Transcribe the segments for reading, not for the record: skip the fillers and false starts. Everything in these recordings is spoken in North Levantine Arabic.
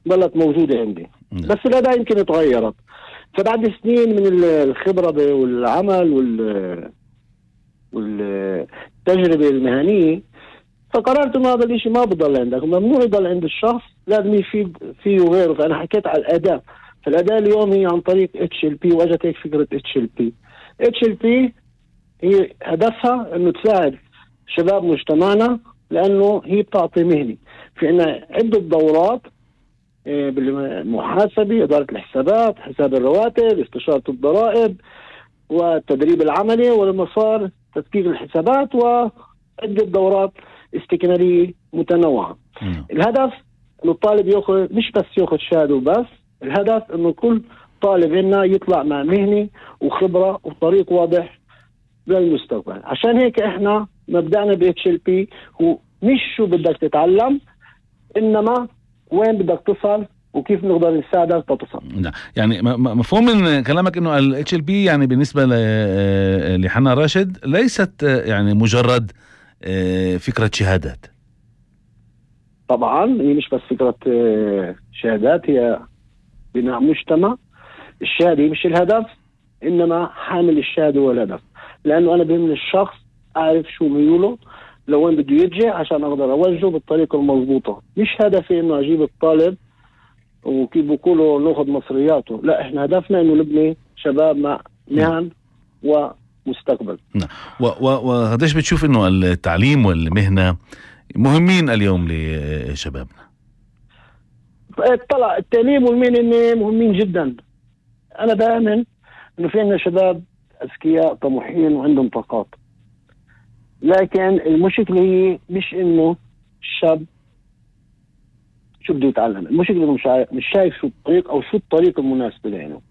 ظلت موجودة عندي. بس الأداة يمكن تغيرت. فبعد سنين من الخبرة والعمل والتجربة المهنية، فقررت انه هذا الاشي ما بضل عندك، ممنوع يضل عند الشخص، لازم يفيد فيه وغيره. فانا حكيت على الاداة. فالاداة اليوم هي عن طريق HLP، واجت هيك فكرة HLP هي هدفها انه تساعد شباب مجتمعنا، لانه هي بتعطي مهنة. في عنا عدة دورات بالمحاسبة، إدارة الحسابات، حساب الرواتب، استشارة الضرائب، والتدريب العملي، والمسار تدقيق الحسابات، وعدة دورات استكمالية متنوعة. الهدف انه الطالب مش بس ياخذ شهاده وبس، الهدف انه كل طالب منا يطلع مع مهنة وخبرة وطريق واضح للمستقبل. عشان هيك احنا مبدأنا ب HLP هو مش شو بدك تتعلم، انما وين بدك تصل وكيف نقدر نساعدك تتصل. يعني مفهوم من كلامك انه ال HLP يعني بالنسبة لحنا راشد ليست يعني مجرد فكرة شهادات. طبعا هي مش بس فكرة شهادات، هي بناء مجتمع. الشهادة مش الهدف، انما حامل الشهادة هو الهدف. لانه انا بهمني الشخص اعرف شو ميوله، لوين بده يتجه، عشان اقدر اوجهه بالطريقة المضبوطة. مش هدفي انه اجيب الطالب وكيف بقولوا ناخذ مصرياته، لا، احنا هدفنا انه نبني شباب مع مهن ومستقبل. وقديش بتشوف انه التعليم والمهنة مهمين اليوم لشبابنا؟ طلع التعليم والمهنة مهمين جدا. انا بآمن انه في عندنا شباب اذكياء طموحين وعندهم طاقات، لكن المشكلة هي مش انه الشاب شو بده يتعلم، المشكلة انه مش شايف شو الطريق او شو الطريق المناسب له.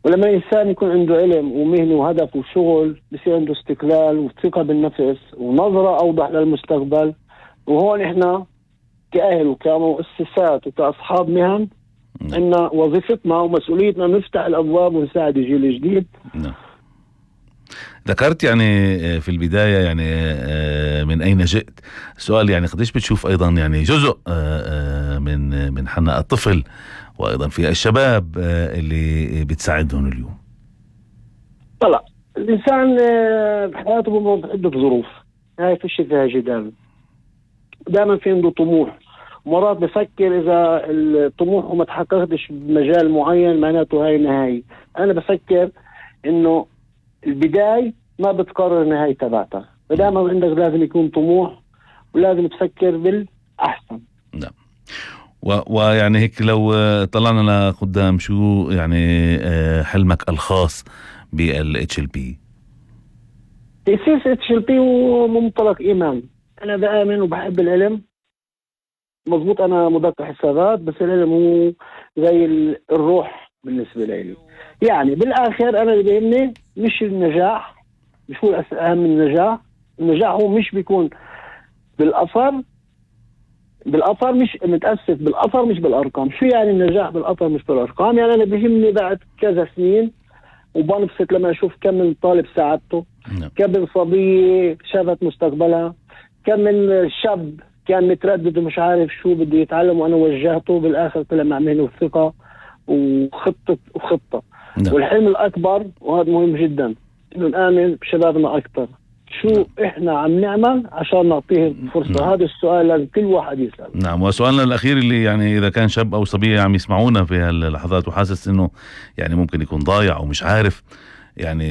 ولما الانسان يكون عنده علم ومهنة وهدف وشغل، بصير عنده استقلال وثقة بالنفس ونظرة اوضح للمستقبل. وهون احنا كأهل وكمؤسسات وكأصحاب مهن عندنا وظيفتنا ومسؤوليتنا نفتح الابواب ونساعد الجيل الجديد. ذكرت يعني في البداية يعني من أين جئت، سؤال يعني قديش بتشوف أيضا يعني جزء من حنا الطفل وأيضا في الشباب اللي بتساعدهم اليوم؟ طلع الإنسان بحياته بمر عدة ظروف، هاي فيش فيها جدال. دائما في عنده طموح، مرات بفكر إذا الطموح ما تحققتش بمجال معين معناته هاي نهاية. أنا بفكر إنه البداية ما بتقرر النهاية تبعتها، فدائما عندك لازم يكون طموح ولازم تفكر بالأحسن. نعم. ويعني هيك لو طلعنا لقدام، شو يعني حلمك الخاص بال HLP؟ تأسيس HLP هو منطلق إيمان. أنا بآمن وبحب العلم، مضبوط. أنا مدرس حسابات، بس العلم هو زي الروح بالنسبة لي. يعني بالآخر أنا اللي بيهمني مش النجاح، مش هو أهم من النجاح هو مش بيكون بالأثر مش متأسف بالأثر مش بالأرقام. شو يعني النجاح بالأثر مش بالأرقام؟ يعني أنا بيهمني بعد كذا سنين وبنبسط لما أشوف كم من طالب ساعدته، كم من صبية شافت مستقبلها، كم من شاب كان متردد ومش عارف شو بده يتعلم وأنا وجهته بالآخر طلع مع مهنة وثقة وخطة. والحلم الأكبر وهذا مهم جدا إنه نآمن بشبابنا أكتر. شو إحنا عم نعمل عشان نعطيهم فرصة؟ هذا السؤال لازم كل واحد يسأل. نعم. وسؤالنا الأخير اللي يعني إذا كان شاب أو صبية عم يسمعونا في هاللحظات وحاسس إنه يعني ممكن يكون ضايع أو مش عارف يعني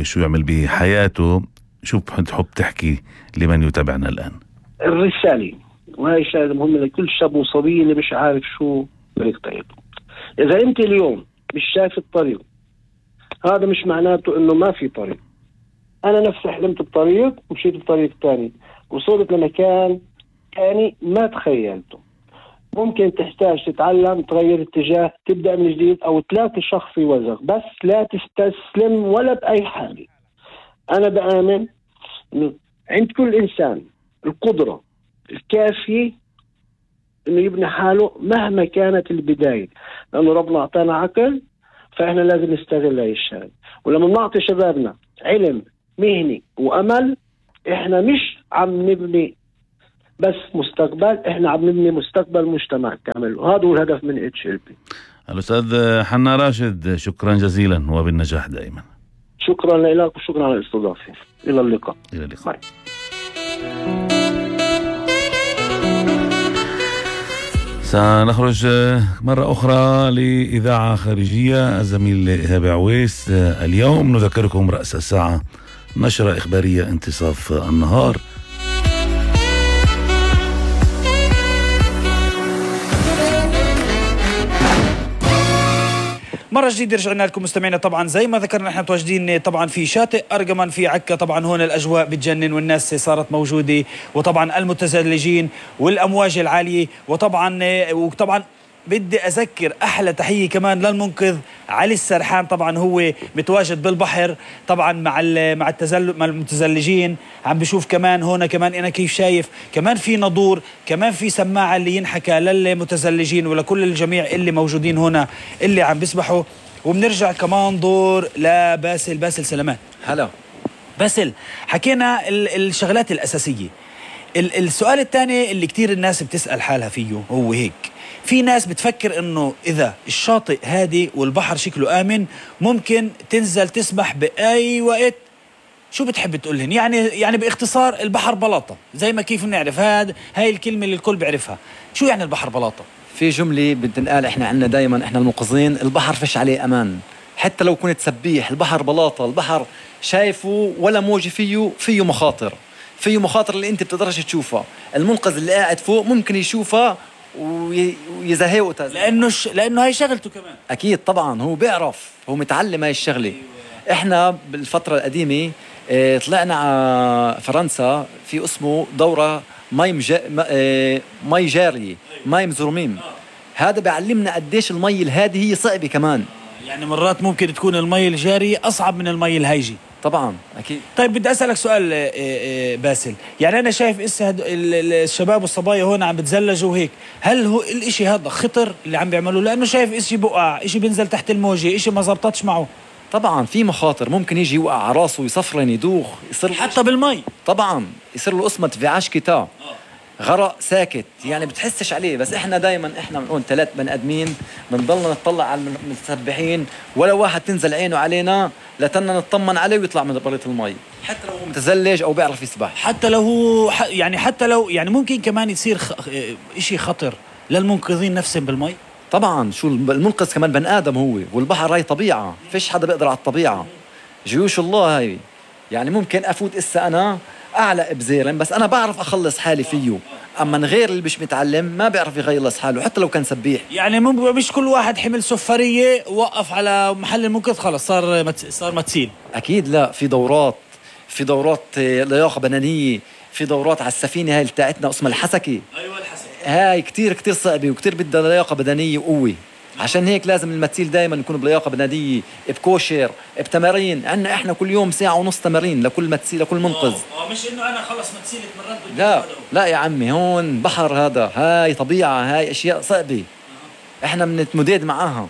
شو يعمل بحياته، شو بتحب تحكي لمن يتابعنا الآن؟ الرسالة، وهي رسالة مهمة لكل شاب وصبية اللي مش عارف شو طريق طريقه. إذا أنت اليوم مش شايف الطريق، هذا مش معناته إنه ما في طريق. أنا نفسي حلمت بطريق ومشيت بطريق تاني، وصلت لمكان تاني ما تخيلته. ممكن تحتاج تتعلم، تغير اتجاه، تبدأ من جديد، أو تلاقي شخص يوزغ، بس لا تستسلم ولا بأي حاجة. أنا بآمن إنه عند كل إنسان القدرة الكافية إنه يبني حاله مهما كانت البداية، لأنه ربنا أعطانا عقل، فإحنا لازم نستغل هاي الشيء. ولما نعطي شبابنا علم، مهني وأمل، إحنا مش عم نبني بس مستقبل، احنا عم نبني مستقبل مجتمع كامل، وهذا هو الهدف من HLP. الأستاذ حنا راشد، شكرا جزيلا وبالنجاح دائما. شكرا لك وشكرا على الاستضافة. إلى اللقاء. إلى اللقاء. سنخرج مرة أخرى لإذاعة خارجية. الزميل إيهاب عويس. اليوم نذكركم رأس الساعة نشرة إخبارية انتصاف النهار. مرة جديدة رجعنا لكم مستمعينا. طبعا زي ما ذكرنا احنا متواجدين طبعا في شاطئ أرجمان في عكا. طبعا هون الأجواء بتجنن والناس صارت موجودة، وطبعا المتزلجين والأمواج العالية، وطبعا بدي أذكر أحلى تحية كمان للمنقذ علي السرحان. طبعا هو متواجد بالبحر طبعا مع المتزلجين. عم بشوف كمان هون كمان أنا كيف شايف كمان في نضور، كمان في سماعة اللي ينحكى للمتزلجين ولكل الجميع اللي موجودين هنا اللي عم بيسبحوا. وبنرجع كمان دور لباسل سلامات. هلا باسل، حكينا الشغلات الأساسية. السؤال الثاني اللي كتير الناس بتسأل حالها فيه هو هيك: في ناس بتفكر انه اذا الشاطئ هادي والبحر شكله امن ممكن تنزل تسبح باي وقت. شو بتحب تقولهن؟ يعني باختصار البحر بلاطة، زي ما كيف نعرف هاي الكلمة اللي الكل بيعرفها. شو يعني البحر بلاطة؟ في جملة بتنقال احنا عندنا دايما احنا المنقذين: البحر فيش عليه امان. حتى لو كنت سبيح البحر بلاطة، البحر شايفه ولا موجة فيه مخاطر اللي انت بتقدرش تشوفها. المنقذ اللي قاعد فوق ممكن يشوفها ويزهقه لانه هاي شغلته كمان. اكيد طبعا هو بيعرف، هو متعلم هاي الشغله. احنا بالفتره القديمه طلعنا على فرنسا في اسمه دوره مي جاري، مي مزرومين. هذا بيعلمنا قديش المي الهادي هي صعبه كمان. يعني مرات ممكن تكون المي الجاري اصعب من المي الهايجي. طبعا اكيد. طيب بدي اسالك سؤال باسل، يعني انا شايف الشباب والصبايا هون عم بتزلجوا وهيك، هل هو الاشي هذا خطر اللي عم بيعملوه؟ لانه شايف اشي بقع، اشي بينزل تحت الموجه، اشي ما زبطتش معه. طبعا في مخاطر، ممكن يجي يوقع على راسه، يصفرن، يدوخ، يصير حتى بالمي. طبعا يصير له قسمه فيعاش كتا، غرق ساكت، يعني بتحسش عليه. بس احنا دايما احنا بنقول 3 بني ادمين بنضلنا نطلع على المتسبحين، ولا واحد تنزل عينه علينا لتنا نطمن عليه ويطلع من برة المي، حتى لو هو متزلج او بيعرف يسبح. حتى لو هو حتى لو ممكن كمان يصير اشي خطر للمنقذين نفسهم بالمي. طبعا شو المنقذ كمان بني ادم هو، والبحر هاي طبيعه، فيش حدا بيقدر على الطبيعه، جيوش الله هاي. يعني ممكن افوت انا اعلق بزيرن بس انا بعرف اخلص حالي فيه، اما غير اللي مش متعلم ما بيعرف يخلص حاله حتى لو كان سبيح. يعني مش كل واحد حمل سفريه وقف على محل المنقذ خلص صار متسيل. اكيد لا، في دورات لياقه بدنيه، في دورات على السفينه هاي بتاعتنا اسمها الحسكه. ايوه الحسكه هاي كتير صعبه وكتير بدها لياقه بدنيه وقوه. عشان هيك لازم المتسيل دائما يكون بلياقه بدنيه، بكوشر، بتمارين. عندنا احنا كل يوم 1.5 ساعة تمارين لكل متسيل، لكل منقذ. مش انه انا خلص متسيل اتمرنت. لا يا عمي، هون بحر، هذا هاي طبيعه، هاي اشياء صعبه احنا بنتمدد معاها.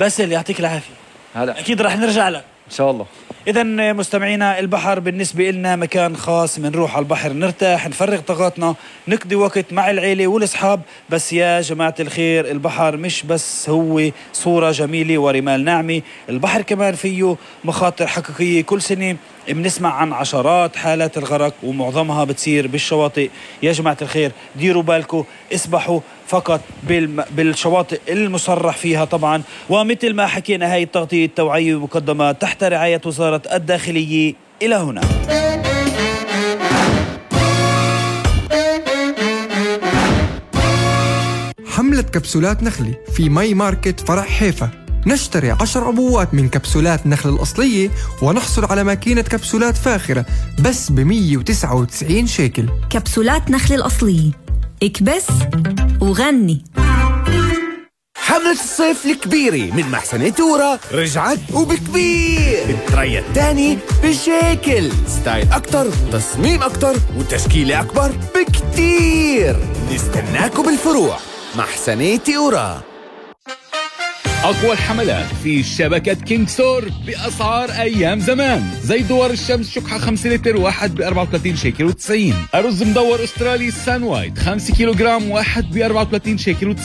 بس اللي يعطيك العافيه. هلا اكيد رح نرجع لك ان شاء الله. إذا مستمعينا، البحر بالنسبة لنا مكان خاص، منروح على البحر نرتاح، نفرغ طاقاتنا، نقضي وقت مع العيلة والأصحاب. بس يا جماعة الخير، البحر مش بس هو صورة جميلة ورمال ناعمة، البحر كمان فيه مخاطر حقيقية. كل سنة بنسمع عن عشرات حالات الغرق ومعظمها بتصير بالشواطئ. يا جماعة الخير ديروا بالكم، اسبحوا فقط بالشواطئ المصرح فيها طبعا. ومثل ما حكينا، هاي التغطية التوعية مقدمة تحت رعاية وزارة الداخلية. إلى هنا حملة كبسولات نخلي في ماي ماركت فرع حيفا. نشتري 10 عبوات من كبسولات نخل الأصلية ونحصل على ماكينة كبسولات فاخرة بس ب199 شيكل. كبسولات نخل الأصلية، اكبس وغني. حملة الصيف الكبيرة من محسنة تورا رجعت وبكبير. التريا الثاني بشيكل، ستايل أكتر، تصميم أكتر، وتشكيلة أكبر بكتير. نستناكم بالفروع. محسنة تورا. أقوى الحملات في شبكة كينج ستور بأسعار أيام زمان. زي دوار الشمس شكحة 5 لتر واحد ب 34 شيكل و90. أرز مدور أسترالي سان وايت 5 كيلوغرام واحد ب 34 شيكل و90.